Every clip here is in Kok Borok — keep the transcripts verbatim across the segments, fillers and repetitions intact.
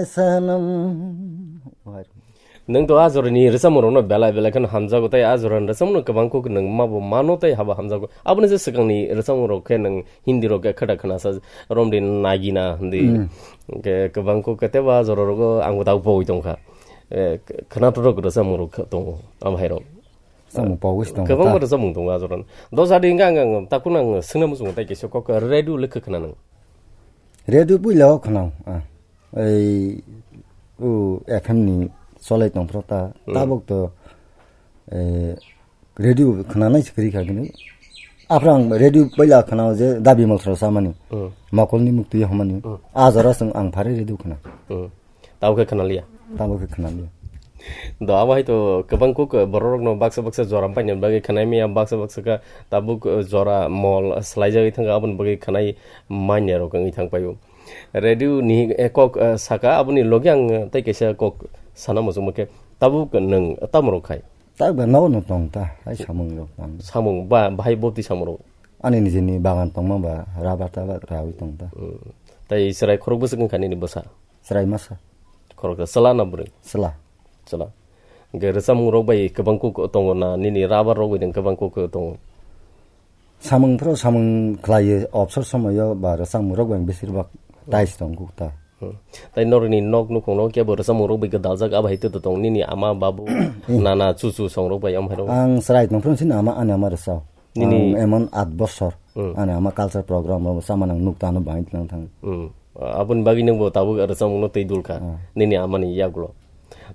Sanam. Nwng to a jorani rwchapmung rokno belai belai kheno hamjago, tei a jorani rwchapmung no kwbang kuk nwng mabo mano tei habo hamjago. Aboni je swkangni rwchapmung rok khe nwng Hindi rok khe khwda khwnasa romdi nagina hindi. Hmm. Khe kwbang kuk khe tebo a jora rogo ang bo tabuk pogwi tongkha. Eh, khwnathok rok rwchapmung rok khe tongo, abo hai rok. Samung pogwi se tongo kwbangma ta. Rwchapmung tongo a jorani. Dosa di hingka ang, ang, takun ang swngna muchungo tei kisa kok radio le khe khwna nang. Radio puila o khwnao, ah. Ei, o F M ni cholai tong phro ta. Hmm. Tabuk to, eh, radio khwnanai se kwrwi kha kini. Aphra ang radio puila khwnao je dabi mol thro samani. Hmm. Mokol ni mukti hamani. Hmm. A jora song ang phare radio khwna. Hmm. Tabo khe khwnaliya. Tabo khe khwnaliya. Do abo hai to kwbang kuk borok rokno baksa baksa jora paina bagwi khwnai maya, baksa baksa kha tabuk, eh, jora mol swlaijagwi thangkha, aboni bagwi khwnai manya rok wngwi thang paio. Radio ni, eh, kok, eh, saka aboni logi ang, eh, tei kaisa kok sana muchungma khe tabuk nwng tamo rok khai? Tak ba nogo no tong ta, hai samung rok tang. Samung ba bahai boti samung rok? Ani nijini bagan tongma ba rubber tabar rawi tong ta. Hmm. Tai chwrai khorok bwswk wngkha nini bwsa? Chwrai masa. Khoroksa chwla na bwrwi? Chwla. Chwla. Hwnkhe rwchapmung rok bai kwbang kuk tongo na nini rubber rok bai kwbang kuk tongo? Samung phro samung khlaiyo, obsor somoyo ba rwchapmung rok bai besir bak tais tong kuk ta. Hmm. Tai norokni nok nukhung no kebo rwchapmung rok bai gwdaljak, abo hai tei tong nini ama babu, nana chuchu song rok bai amhai rok? Ang chwrai tong phro sini ama, ani ama rwchao. Nini Ang emon at bosor. Hmm. Ani ama culture program rok sama nang nuk tano bahai tlang thang. Hmm. Aboni bagwi nwng bo tabuk rwchapmung no twi dul kha. Hmm. Nini amani yagulo.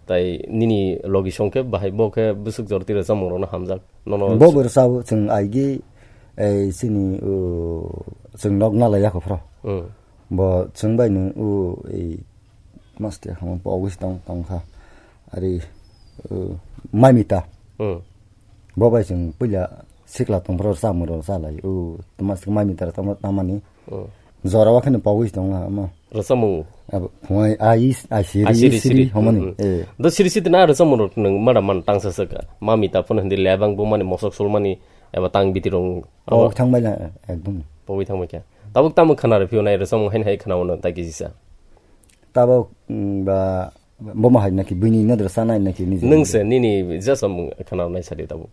Tai nini logi song khe bahai bo khe bwswk jor twi rwchapmung rok no hamjak. Nono Bo bo rwchao chwng aigi, ei, sini, o, chwng nok nalai yakho phro. Hmm. Bo chwng bai nung u, ei, maste hamon pogwi tong, tong kha. Ari, u, mamita. Hmm. Bo bai chwng puila sikla tong phro samung rok salai. U, maste mamita tong tamani. Hmm. Jora wa khani pogwi tong na ma. Rwchapmung. Abo phungai ai, ai siri, Ai siri, siri, siri. Homoni. Hmm, hmm. Eh. Do siri siri na rwchapmung rok nwng mada man tangsa saka. Mamita phone hindi lebang bo mani mosok sul mani eba tang biti rong. Pogwi thang bai la, ekdom. Pogwi thang bai kha. Tabuk tamo khana rw phio nai rwchapmung hain hai khana wono ta kisi sa. Tabuk, mm, ba, bo ma hai naki bini nadra sanai naki niji. Nwng se nini jasam khana nai sadi tabuk.